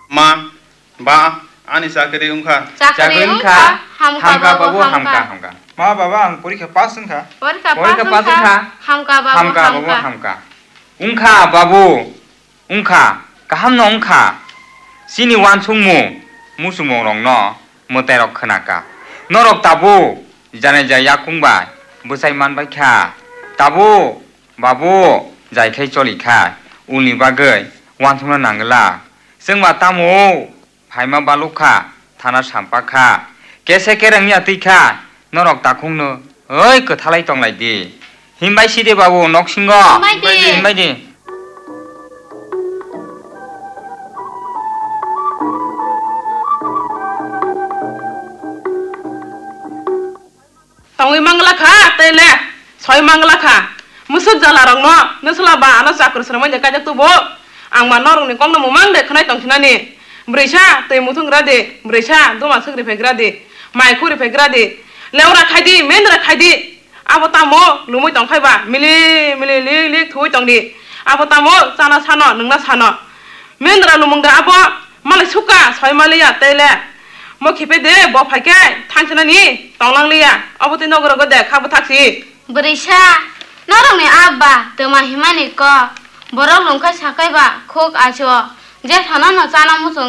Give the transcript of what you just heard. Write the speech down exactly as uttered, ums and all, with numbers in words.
Ma, ba, ani chakri wngkha. Chakri wngkha. Hamkha babu, hamkha, hamkha. Ma, baba, ang porikha pass wngkha. Porikha pass wngkha. Hamkha babu, hamkha. Wngkha babu, wngkha. Kahamno wngkha. Chini wansukmung, muchungmungrokno mwtairok khwnaka. Norok tabuk janai jai yakung bai bwchai manbaikha. Tabuk Babu, jaikhai cholikha, ulni bagwi wansukna nangla. Chwngba tamo phaima balukha, thana sampakha. Kese kereng ya twikha, norok takhungno, oi kwthalai tonglai di. Himbai side babu, noksingo. Himbai di. Himbai di. Tongwi mangla kha, tei le soi mangla kha. Musuk jala rokno, nwsla ba ano chakur srwmani kaijak tubo. Ang ma norokni kokno mumang de khwnai tongsinani. Bwrwisa twi muthung gra di, bwrwisa duma swk riphai gra di, mai khu riphai gra di. Leura khai di, mendra khai di. Abo tamo lumui tong khai ba, mili mili lik lik thuwi tong di. Abo tamo chana sano, nungna sano. Mendra lumung da abo, malai suka, soi maliya, tei le. Mo khipe de, bo phai khe, thangsinani, tonglang liya. Abo tei nogo rogo de, kha bwthak si. Bwrwisa, norokni abba, twma himani kok. Borok lungkhai sakhai ba, khuk acho. Je thano no chana muchung